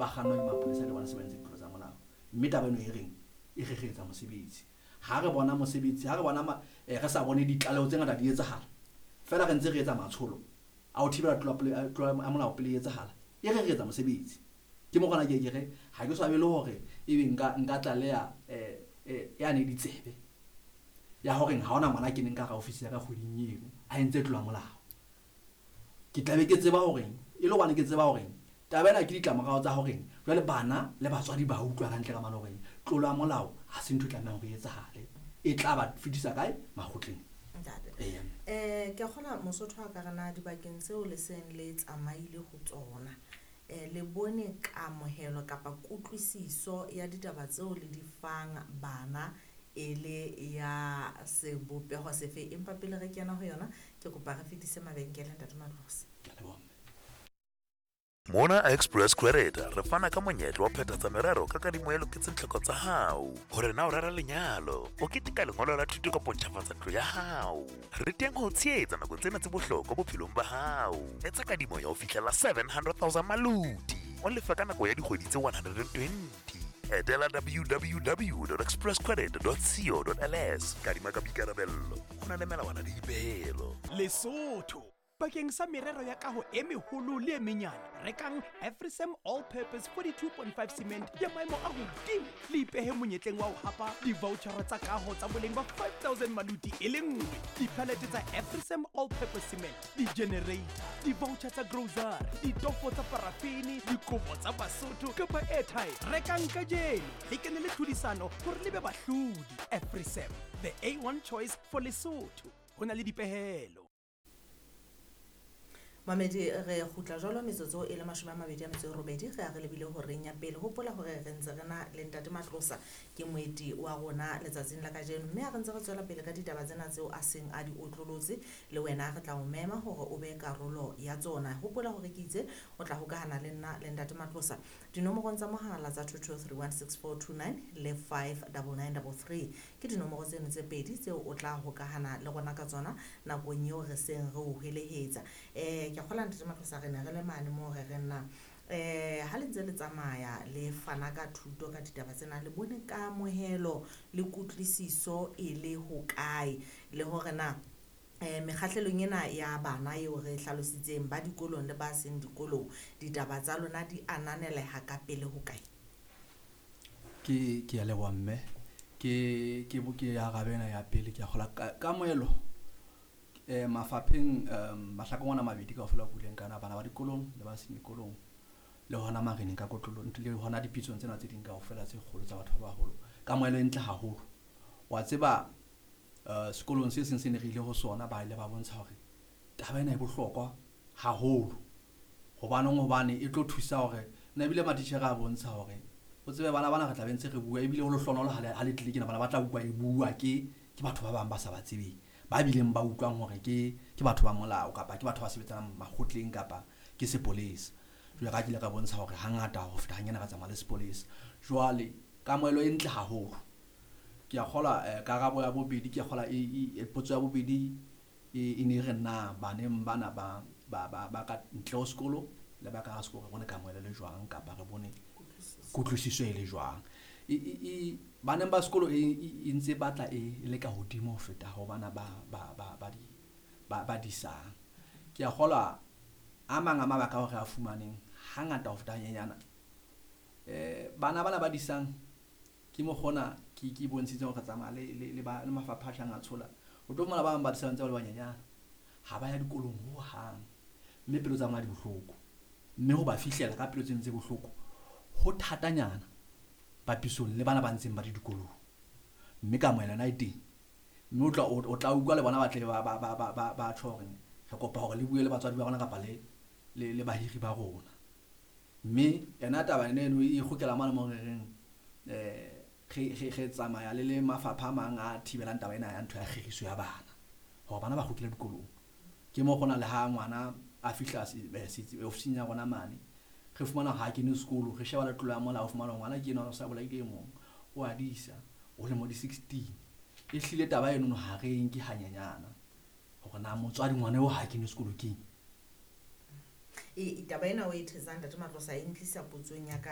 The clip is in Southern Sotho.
Ba kgannwa ke mapolesa le bona se ba entse ditlolo tsa molao. Mme taba eno e reng e re re etsa mosebetsi. Ha re bona mosebetsi, ha re bona re sa bone ditlaleho tse ngata di etsahala, feela re ntse re etsa matsholo a ho thibela tlolo ya molao pele e etsahala, e re re etsa mosebetsi. Ke mo gona ke ke re ha ke swabele hore ebe nka tlaleha yane ditsebe ya hore ha hona ngwana a keneng ka hara ofisi ya ka kgweding eno a entse tlolo ya molao. Ke tlabe ke tseba hore e le hobane ke tseba hore taba ena ke ditlamorao tsa hore jwale bana le batswadi ba utlwa hantle ka mane hore tlolo ya molao ha se ntho e tlamehang hore e etsahale, e tla ba fetisa kae makgotleng. Ntate. Eya. Ke a kgolwa Mosotho a ka re na dibakeng tseo le seng le tsamaile ho tsona, le bone kamohelo kapa kutlwisiso ya ditaba tseo le di fang bana e le ya sebopeho sefe? Empa pele re kena ho yona, ke kopa re fetise mabenkele, Ntate Matlosa. Ke a leboha, mme. Mona Express Credit re fana ka monyetla wa phethatsa merero ka kadimo e loketseng tlhoko tsa hao. Hore na o rera lenyalo, o keteka lengolo la thuto kapa o ntjhafatsa ntlo ya hao. Re teng ho o tshehetsa nakong tsena tse bohlokwa bophelong ba hao. Etsa kadimo ya ho fihlela 700,000 maluti, o lefe ka nako ya dikgwedi tse 120. Etela www.expresscredit.co.ls. Kadima ka boikarabello, ho na le melawana le dipehelo. Lesotho bakeng sa merero ya kaho e meholo le e menyane, rekang Afrisam All Purpose 42.5 cement ya maemo a hodimo, le ipehe monyetleng wa ho hapa di-vouchera tsa kaho tsa boleng ba 5000 maluti e le nngwe, dipalete tsa Afrisam All Purpose cement, di-generator, di-voucher tsa grocery, ditofo tsa parafini, dikobo tsa Basotho kapa airtime. Rekang kajeno, le kene le tlhodisano hore le be bahlodi. Afrisam, the A1 choice for Lesotho. Ho na le dipehelo. Mamedi, re kgutla jwalo metsotso e le 28, re a re lebile horeng ya pele. Hopola hore re ntse re na le Ntate Matlosa, ke moeti wa rona letsatsing la kajeno, mme ha re ntse re tswela pele ka ditaba tsena tseo a seng a di otlolotse, le wena re tla o mema hore o be karolo ya tsona. Hopola hore ke itse o tla hokahana le nna le Ntate Matlosa dinomorong tsa mohala tsa 22316429 le 59933. Ke dinomoro tseno tse pedi tseo o tla hokahana le rona ka tsona nakong eo re seng re o hwelehetsa. Ke a kgolwa Ntate Matlosa re ne re le mane moo re reng na ha le ntse le tsamaya le fana ka thuto ka ditaba tsena, le bone kamohelo le kutlwisiso e le hokae, le hore na mekgahlelong ena ya bana eo re hlalositseng ba dikolong le ba seng dikolong, ditaba tsa lona di ananeleha ka pele hokae? Ke a leboha, mme. Ke arabe ena ya pele. Ke a kgolwa kamohelo mafapheng, mahlakoreng ana a mabedi kaofela buileng kana bana ba dikolong le ba seng dikolong, le hona mareneng ka kotlolo, le hona dipitsong tsena tse ding kaofela tse kgolo tsa batho ba baholo, kamohelo e ntle haholo. Wa tseba, sekolong se seng se ne re ile ho sona, ba ile ba bontsha hore taba ena e bohlokwa haholo. Hobaneng? Hobane e tlo thusa hore nna ebile matitjhere a bontsha hore o tsebe bana bana re tla be ntse re bua, ebile ho lehlohonolo ha le tlile kena bana ba tla utlwa e bua ke batho ba bang ba sa ba tsebeng, ba bileng ba utlwang hore ke batho ba molao kapa ke batho ba sebetsanang makgotleng kapa ke sepolesa. Jwale ka ke ile ka bontsha hore hangata ho feta hanyane re tsamaya le sepolesa. Jwale kamohelo e ntle haholo. Ke a kgolwa, karabo ya bobedi, ke a kgolwa potso ya bobedi e ne re na baneng bana ba ka ntle ho sekolo le ba ka hara sekolo re bone kamohelo le jwang kapa re bone kutlwisiso e le jwang. Baneng ba sekolo e ntse batla e le ka hodimo ho feta ho bana ba disang. Ke a kgolwa a mang a mabaka ao re a fumaneng hangata ho feta hanyenyana, bana bana ba disang ke mokgona ke bontshitse hore re tsamaya le mafapha a tlang a tshola. O tlo fumana ba bang ba disang ntse ba le banyenyana, ha ba ya dikolong hohang, mme pelo tsa bona di bohloko, mme ho ba fihlela ka pelo tse ntse bohloko ho thatanyana papisong le bana ba ntseng ba le dikolong. Mme kamohelo yona e teng, mme o tla utlwa le bona ba tle ba tjho hore re kopa hore le bue le batswadi ba rona kapa le bahiri ba rona. Mme yona taba eno e kgutlela mane moo re reng, re tsamaya le mafapha a mang a thibelang taba ena ya ntho ya kgiriso ya bana, hore bana ba kgutlele dikolong. Ke mo hona le ha ngwana a fihla ofising ya rona mane, re fumana ha kene sekolo, re sheba le tlolo ya molao, fumana ngwana ke enwa o sa bolaile e mong, o a disa, o lemo di 16. E hlile taba eno ha re e nke hanyenyana hore na motswadi ngwana eo ha kene sekolo keng. E taba ena o e thetsang, Ntate Matlosa, e ntlisa potsong ya ka.